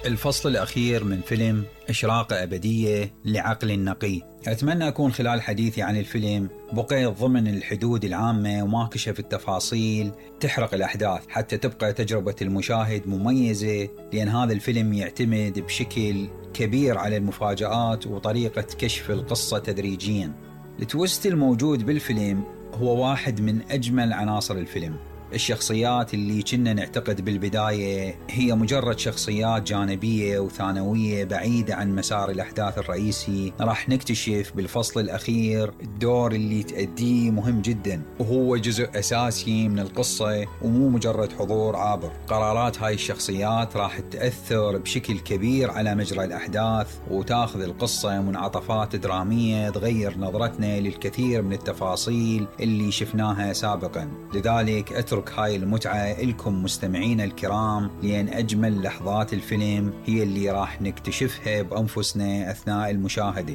الفصل الأخير من فيلم إشراقة أبدية لعقل نقي. أتمنى أكون خلال حديثي عن الفيلم بقيت ضمن الحدود العامة وما كشف التفاصيل تحرق الأحداث، حتى تبقى تجربة المشاهد مميزة، لأن هذا الفيلم يعتمد بشكل كبير على المفاجآت وطريقة كشف القصة تدريجيا. التويست الموجود بالفيلم هو واحد من أجمل عناصر الفيلم. الشخصيات اللي كنا نعتقد بالبداية هي مجرد شخصيات جانبية وثانوية بعيدة عن مسار الأحداث الرئيسي، راح نكتشف بالفصل الأخير الدور اللي تأديه مهم جدا، وهو جزء أساسي من القصة ومو مجرد حضور عابر. قرارات هاي الشخصيات راح تأثر بشكل كبير على مجرى الأحداث، وتاخذ القصة منعطفات درامية تغير نظرتنا للكثير من التفاصيل اللي شفناها سابقا. لذلك أترك هاي المتعة لكم مستمعين الكرام، لأن أجمل لحظات الفيلم هي اللي راح نكتشفها بأنفسنا أثناء المشاهدة.